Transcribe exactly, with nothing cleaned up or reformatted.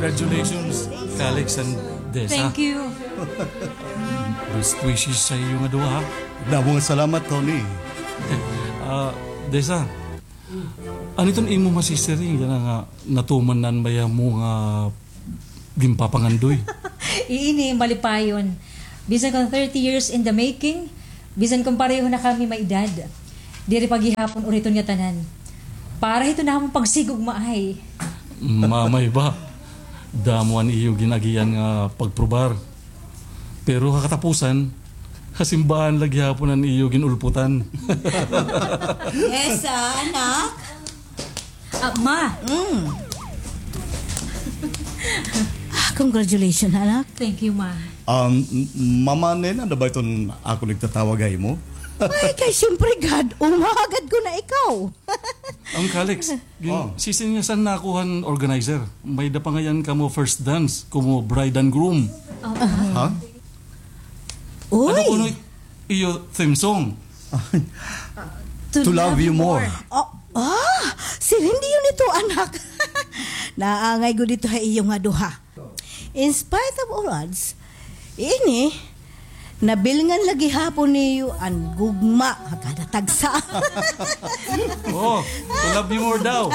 Congratulations, Calix and Desa. Thank you. Best wishes sa iyo nga duha, ha? Damo nga salamat, Tony. Ah, Desa, ano iton imo masisiring yana nga natuman na an baya mo nga ginpapangandoy? Iini, malipayon. Bisan kon thirty years in the making, bisan kon pareho na kami may edad, diri pa gihapon uriton nga tanan. Para hito namon pagsigugmaay. Mamay ba? Damo an iyo gin-agian nga pagprobar. Pero ha katapusan, ha simbahan la gihapon an iyo gin-ulputan. Yes, ah, anak. Ah, ma. Mm. Ah, congratulations, anak. Thank you, ma. Um, m-, Mama Nena, da ba iton akon igtatawag ha imo? Ay, kay siyempre, God, umagad ko na ikaw. Ang Calix, gin-, Oh. sisinyasan na ako han organizer. May da pa ngayan kamo first dance, komo bride and groom. Oh. Ha? Ano Uy! kuno iyo theme song? To To love love you you more. more. Oh, ah, siring diyon ito, anak. Naangay gud ito ha iyo nga duha. In spite of all odds, ini, nabilngan la gihapon niyo an gugma ha kada tagsa. Oh, to love you more daw.